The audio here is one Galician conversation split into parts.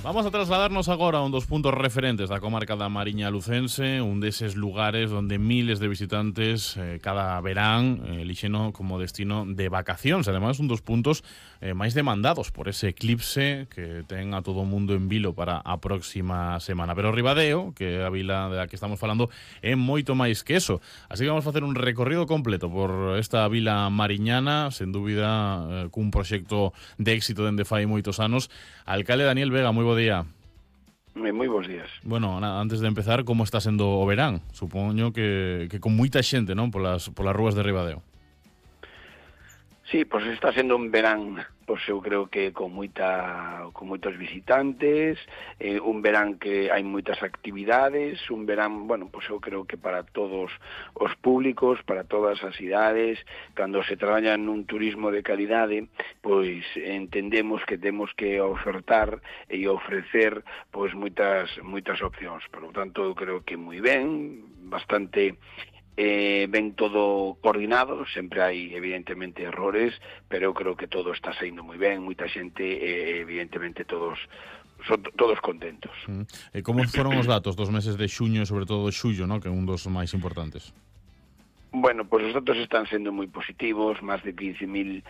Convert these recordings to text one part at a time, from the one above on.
Vamos a trasladarnos agora a un dos puntos referentes da comarca da Mariña Lucense, un deses lugares onde miles de visitantes cada verán elixeno como destino de vacacións. Ademais, un dos puntos máis demandados por ese eclipse que ten a todo o mundo en vilo para a próxima semana. Pero Ribadeo, que é a vila da que estamos falando, é moito máis que eso. Así que vamos a facer un recorrido completo por esta vila mariñana, sen dúbida cun proxecto de éxito dende fai moitos anos. Alcalde Daniel Vega, moi bo día. Moi bons días. Bueno, antes de empezar, como está sendo o verán? Supoño que con moita xente, non? Polas rúas de Ribadeo. Sí, pois está sendo un verán, pois eu creo que con moitos visitantes, un verán que hai moitas actividades, un verán, bueno, pois eu creo que para todos os públicos, para todas as idades, cando se traballa nun turismo de calidade, pois entendemos que temos que ofertar e ofrecer pois moitas opcións. Por lo tanto, eu creo que moi ben, bastante ben todo coordinado, sempre hai evidentemente errores, pero eu creo que todo está saindo moi ben, moita xente, evidentemente todos contentos. Como foron os datos dos meses de xuño e sobre todo de xullo, ¿no? Que é un dos máis importantes? Bueno, pois os datos están sendo moi positivos, máis de 15.000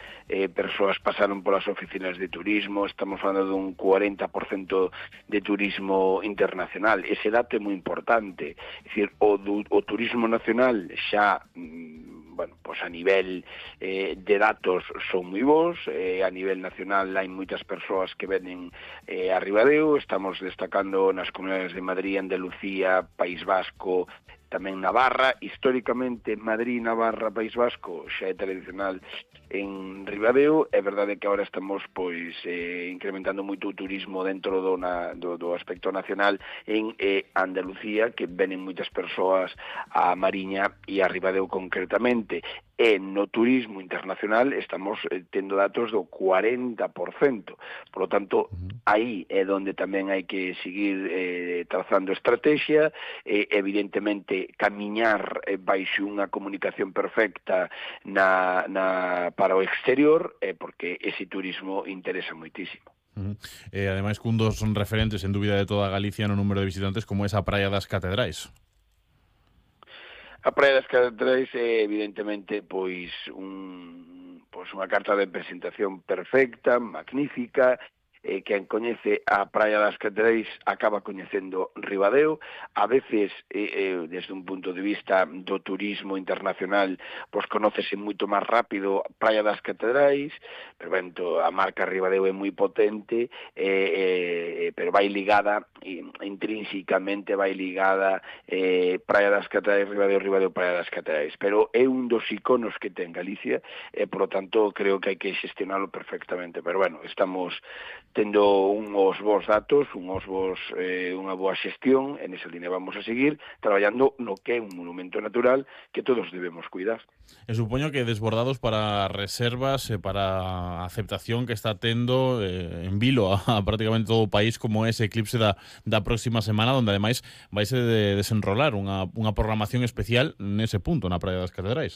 persoas pasaron polas oficinas de turismo, estamos falando dun 40% de turismo internacional. Ese dato é moi importante, é dicir, o turismo nacional xa bueno, pois a nivel de datos son moi bons, a nivel nacional hai moitas persoas que venen a Ribadeo, estamos destacando nas comunidades de Madrid, Andalucía, País Vasco, tamén Navarra. Históricamente Madrid, Navarra, País Vasco xa é tradicional en Ribadeo. É verdade que agora estamos pois incrementando moito o turismo dentro do aspecto nacional en Andalucía, que venen moitas persoas a Mariña e a Ribadeo concretamente. E no turismo internacional estamos tendo datos do 40%. Por lo tanto, aí é onde tamén hai que seguir trazando estrategia, evidentemente camiñar baixo unha comunicación perfecta para o exterior, porque ese turismo interesa moitísimo. Ademais, cun dos son referentes en dúbida de toda Galicia no número de visitantes, como esa Praia das Catedrais. A Praia das Catedrais é evidentemente pois unha carta de presentación perfecta, magnífica. Quen coñece a Praia das Catedrais acaba coñecendo Ribadeo. A veces, desde un punto de vista do turismo internacional, pois conócese moito máis rápido Praia das Catedrais, pero ben, a marca Ribadeo é moi potente, pero vai ligada, intrínsecamente vai ligada Praia das Catedrais, Ribadeo, Ribadeo, Praia das Catedrais. Pero é un dos iconos que ten Galicia, e, por lo tanto, creo que hai que xestionalo perfectamente. Pero, bueno, estamos tendo unhos bons datos, unha boa xestión, en esa línea vamos a seguir traballando no que é un monumento natural que todos debemos cuidar. E supoño que desbordados para reservas e para a aceptación que está tendo en vilo a prácticamente todo o país, como ese eclipse da próxima semana, onde ademais vaise de desenrolar unha programación especial nese punto, na Praia das Catedrais.